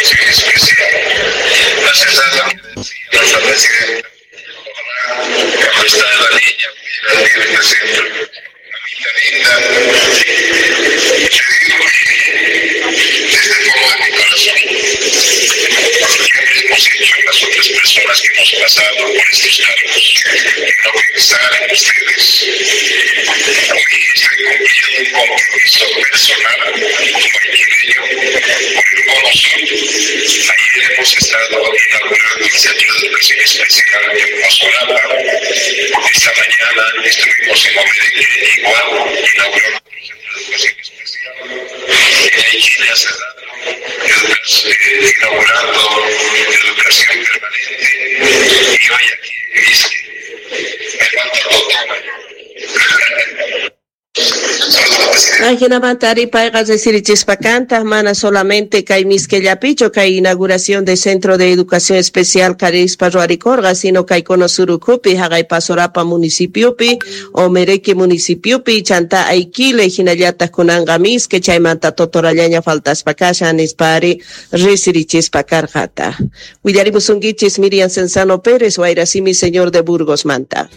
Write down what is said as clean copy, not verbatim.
Educación Especial. Más allá de lo que decía nuestra presidenta, ojalá cuando está la niña pudiera venir a este centro. Mamita linda, te digo que desde el fondo de mi corazón, siempre hemos hecho las otras personas que hemos pasado por estos cargos, no pensar en ustedes. Hoy estoy cumpliendo un compromiso personal como aiquileño por el Cono Sur. Ayer hemos estado inaugurando el Centro de Educación Especial en Pasorapa. Esta mañana estuvimos en Omereque, igual, inaugurando otro centro de educación especial. En Aiquile hace rato, inaugurando educación permanente. Y hoy aquí en Mizque. Me falta Totora. Saludos, presidente. Ajinamanta ari payqa resirichispa kantaq mana solamente kay Mizquellapichu kay inauguración de Centro de Educación Especial karispa ruwarikorqa, sino kay Cono Sur ukhupi, haqay Pasorapa municipiopi, Omereque municipiopi, chanta Aiquile, hinallataq kunanqa Mizque, chaymanta Totorallaña faltaspa kashan nispa ari resirichispa karqata. Willarimusunkichis Miriam Cenzano Pérez, Wayrasimi señor de Burgos manta.